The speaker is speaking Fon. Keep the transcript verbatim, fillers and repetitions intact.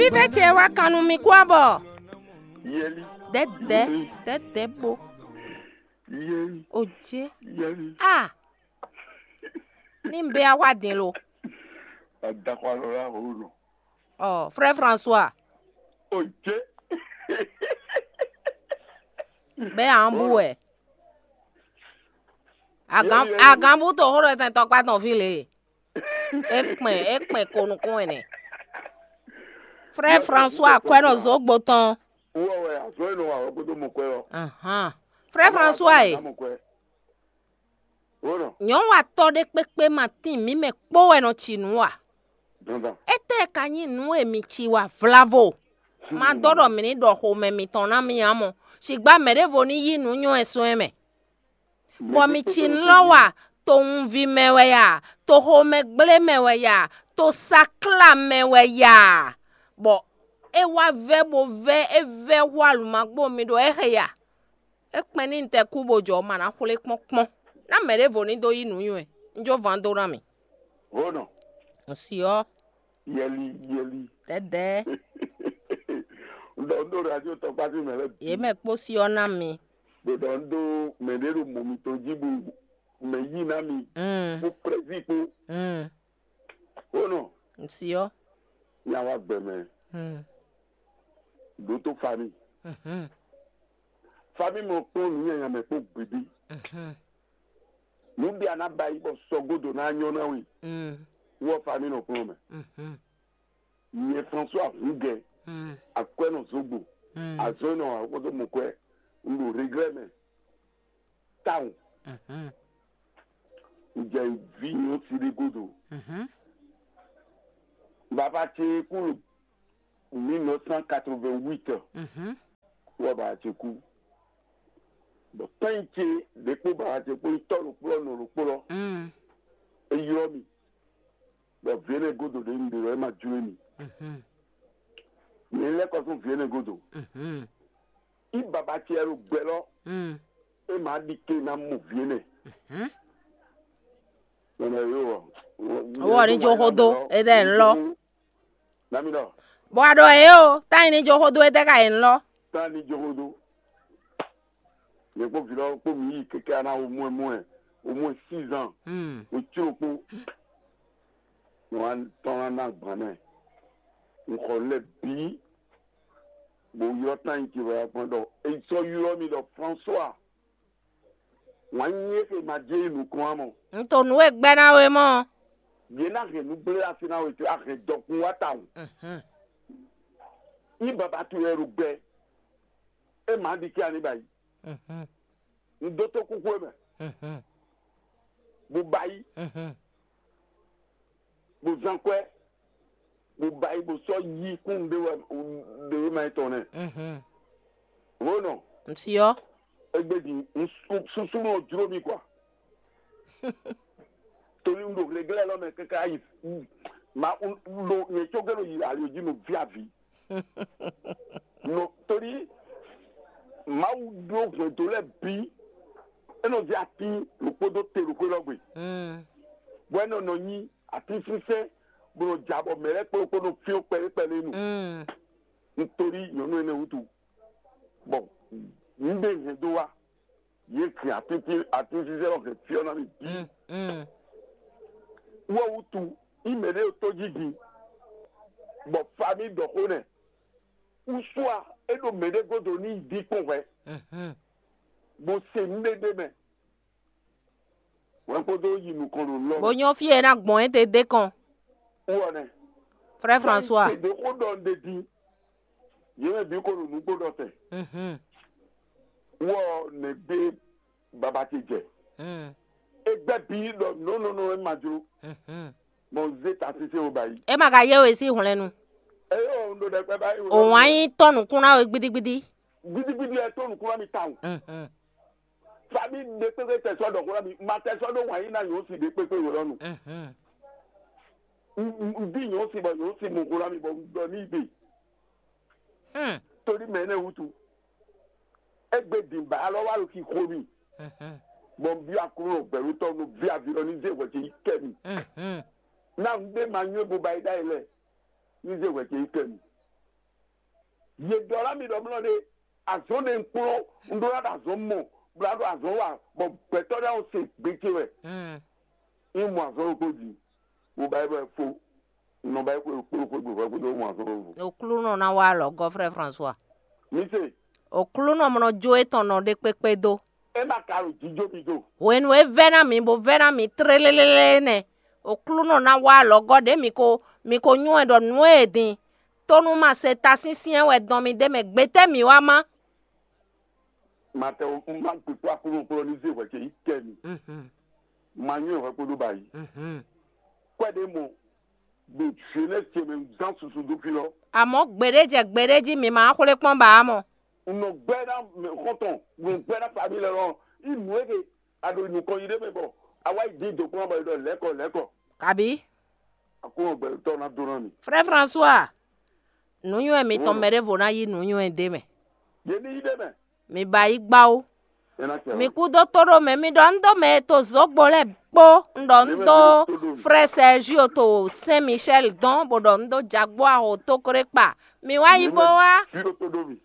Fífɛ́ ce wá kan nú mi kú abɔ. Yɛli. Dɛdɛ, dɛdɛ bo. Yɛli. Oje. Yɛli. Ah, ní bɛ awa dín lo. Adaxɔ alɔ la ho nɔ. Ɔ, frère François. Oje. Bɛ an bu wɛ. Agan, agan bu to ho ɖo tɛn tɔkpa tɔn fi le. E kpɛn, e kpɛn ko nukún ɛnɛ. Frère François kwɛ nɔ zogbo tɔn. Wɔ wɛ azɔ e nɔ wa wɛ kpódó mɔ kwɛ ɔ. Ahan. Frère François e. Mɔ kwɛ. Wo nɔ. Nyɔ̌nu atɔ́ ɖé kpékpé ma tín mǐ mɛ kpó wɛ nɔ ci nǔ a? Dandan. Étɛ́ ka nyí nǔ e mi ci wa vlavo? Ma dó ɖɔ mǐ ní ɖɔ xomɛ mitɔn ná mì ǎ mɔ. Sigba mɛ ɖěvo ní yí nǔ nyɔ́ ɛ sɔ́ ɛ mɛ. Bɔ mi ci nɔ wa to wunvi mɛ wɛ ya, to xomɛgblé mɛ wɛ ya, to sakla mɛ wɛ ya, bɔ é wá vɛ́ bo vɛ́ é vɛ́ hú alǔmagbó mi ɖo é xe ya. É kpɛn ní un tɛ kú bó jɔ ma ná xwlé kpɔ́n kpɔ́n. Ná mɛ ɖěvo ní dó yí nǔ nywɛ, un jó van dó ná mi. Honɔ. Un si ɔ́. Yɛli yɛli. Dɛdɛ. Un ɖɔ un ɖo radio tɔkpá sín mɛ lɛ́ɛ bǐ. Yě mɛ kpó si ɔ́ ná mi. Bó ɖɔ un ɖó mɛ ɖé ɖo mɔ mitɔn jí bó mɛ yí ná mi. Mm. Kó prɛzí kpó. Mm. Ó nɔ. Ŋsi ɔ́. Nya wá gbɛ mɛ. Mm. Ɖó tó fami. Mhm. Fami mɔ kpɔn nǔ nyanya mɛ kpó gbědé. Mhm. Nǔ ɖé a ná ba yi bɔ sɔgódo ná nyɔ́ ná we. Mm. Wɔ fami nɔ kplɔn mɛ. Mhm. Nyɛ François Hungɛ, Mm. Akwɛ́nɔ Zogbo, Mm. Azɔ́nɔ Awokoto Mɔkwɛ, un ɖo Reglɛ mɛ, tawun. Mhm. Un jɛ vi nyɔ si ɖé godo. Mhm. Baba ce kú mille neuf cent quatre-vingt-huit. Mhm. Wɔ baba ce kú. Bɔ tɔn ce ɖě kpó baba ce kpó tɔ́ ɖokpó nɔ ɖokpó lɔ. Mm. E ylɔ́ mi. Bɔ vǐ énɛ́ godo ɖě un ɖe lɔ é ma jló mì. Mhm. Mi lɛ́ kɔ sún vǐ énɛ́ godo. Mhm. Í baba ce wɛ ɖo gbɛ lɔ, Mm. É ma ɖi ke ná mɔ vǐ énɛ́. Mhm. Nɔnɔ yó ɔ. Owó ní jó xódó, é dɛ ń lɔ. Nami ɖɔ. Bɔ a ɖɔ é o, tá yi ní jó xódó, é dɛ ka yi ń lɔ. Tá ní jó xódó. Nyɛ kpó vǐ lɔ kpó mǐ yi keke ana au moins moins, au moins six ans. Mm. O tiro kpó. Wọ́n á tɔn ná ná gbǎn mɛ. Un xɔ lɛ bǐ. Bó ylɔ́ tán nyi ce wɛ kpɔ́n ɖɔ è sɔ́ ylɔ́ mì ɖɔ François. Wǎn nyí é xe ma jɛ yi nukɔn ǎ mɔ. Un to nǔ e gbɛ́ ná we mɔ. Yě ná hɛn nǔgblé así ná we ce a hɛn dɔkun wá tawun. Mhm. Ní baba towe wɛ ɖo gbɛ. É ma ɖi kí ani ba yi. Mhm. Un dó tó kúkú é mɛ. Mhm. Bó ba yi. Mhm. Bó zán kwɛ́. Bó ba yi bó sɔ́ yí kún ɖé wɛ ɖé wɛ ma tɔn nɛ. Mhm. Honɔ. Ŋsi ɔ́. Egbe din, susu nɔ jló mi kwa. Torí un ɖo hleglɛ́ lɔ mɛ káká yi. Ma un ɖo nyɛ cógé ɖo yi ali jí no viavi. No torí Mawu ɖó hwɛndo lɛ́ɛ bǐ. É nɔ zé atín ɖokpó dó te ɖo xwé lɔ gbe. Mm. Bɔ é nɔ nɔ nyi atínsínsɛ́n bó nɔ ja bɔ mɛ lɛ́ɛ kplɔ́n kpó nɔ fyɔ́n kpɛɖé kpɛɖé nu. Mm. Un torí nyɔ̌nu énɛ́ wútu. Bɔ nǔ ɖé hɛn dó wá. Yě hɛn atínsínsɛ́n lɔ hɛn fyɔ́ ná mì bǐ. Mm, mm. Wɔ wútu, í mɛ ɖé tó jí din, bɔ fa mì ɖɔ xó nɛ. Usua é ɖo mɛ ɖé godo ní yi dín kpɔ́n hwɛ, Mhm. Bó se nǔɖéɖé mɛ. Hwɛ kpódó yi nukɔn ɖo lɔ. Bó nyɔ́ fí e ná gbɔn é te dé kɔn. Wɔ nɛ. Frère François. Te ɖo xó ɖɔ un ɖe din. Yě mɛ bǐ ko ɖo nǔgbó ɖɔ tɛ. Mhm. Wɔ nɛ gbé baba ce jɛ. Mm. Egbé bí ɖɔ nɔnɔnɔ é ma jló. Mhm. Mɔ zé ta sese wo ba yi. É ma ka yé we sí hwlɛ́nnu. Eyɔ un ɖo ɖɛkpɛ ba yi. Òun á nyí tɔ́ nǔkún ná we gbídígbídí. Gbídígbídí ɛ tó nǔkún ná mi tawun. Mhm. Fami ɖe kpékpé tɛ sɔ ɖɔ xó ná mi ma tɛ sɔ ɖó wǎn yí ná yǒ si ɖe kpékpé wǒ lɔ nu. Mhm. Un bí yǒ si bɔ yǒ si mu xó ná mi bɔ un ɖɔ ní gbe. Hmm. Torí mɛ énɛ́ wútu. Égbé din bǎ alɔ wá ɖo xixo mì. Mhm. Bɔ un byɔ́ Aklúnɔ gbɛ̌ɖótɔ́ nú ví aví lɔ ní zé hwɛ ce yi kɛ mì. Mhm. Ná un ɖé ma nywɛ́ bo ba yi ɖ'ayǐ lɛ ní zé hwɛ ce yi kɛ mì. Yě ɖɔ ná mi ɖɔ mlɔ ɖe, azɔn ɖe un kplɔ́n, un ɖó ná ɖo azɔn mɔ, bla ɖo azɔn wa, bɔ gbɛtɔ́ ɖé awo se gbe ce wɛ. Nyí mɔ azɔn ɖokpó jí, mo ba yí bɔ fo, nɔ ba yí xwe kpó xwe gběfɔ kpódó mɔ azɔn ɖokpó. Oklúnɔ ná wá alɔ gɔ́ frɛ François. Mi se. Oklúnɔ mɔ nɔ jó étɔn nɔ ɖé kpékpé dó. É ma ka ɖo jíjó mi do. Hwenu e vɛ́ ná mi bó vɛ́ ná mi tlélélélé nɛ́, Oklúnɔ ná wá alɔgɔ́ ɖě mi ko mi ko nywɛ́ ɖɔ nǔ e din. Tónú ma se ta syɛ́nsyɛ́n wɛ dɔn mi ɖ'é mɛ, gbetɛ́ mi wá má? Ma tɛ o, un ma gbekpɔ Aklúnɔ kplɔ́ ní zé hwɛ ce yi kɛ mi. Ma nywɛ́ hwɛ kpódó ba yi. Kwɛ́ ɖé mɔ ɖo Genèse ce mɛ zán susu dó fí lɔ. Àmọ́ gbeɖé jɛ gbeɖé jí mi ma xwlé kpɔ́n ba á mɔ. Un nɔ gbɛ́ ná mɛ xɔ́ntɔn, un nɔ gbɛ́ ná famille lɛ lɔ. Í nǔ e ke a ɖo nukɔn yi ɖé mɛ bɔ a wá yi dín dǒkpɔ́n bɔ è ɖɔ lɛ̌kɔ lɛ̌kɔ. Kabí? Aklúnɔ gbɛtɔ́ ná dó ná mi. Frère François, nǔnywɛ́ mitɔn mɛ ɖěvo ná yí nǔnywɛ́ ɖé mɛ. Yě ní yí ɖé mɛ. Mi ba yí gbá ó. É ná tɛ. Mi kú dó tó ɖó mɛ, mi ɖɔ un dó mɛ e to zǒgbo lɛ́ɛ kpó, un ɖɔ un dó frère Sergio to Saint Michel dɔn, bó ɖɔ un dó jagbó aho tókrékpa. Mi wá yí bó wá. Fí ɖó tó ɖó mi.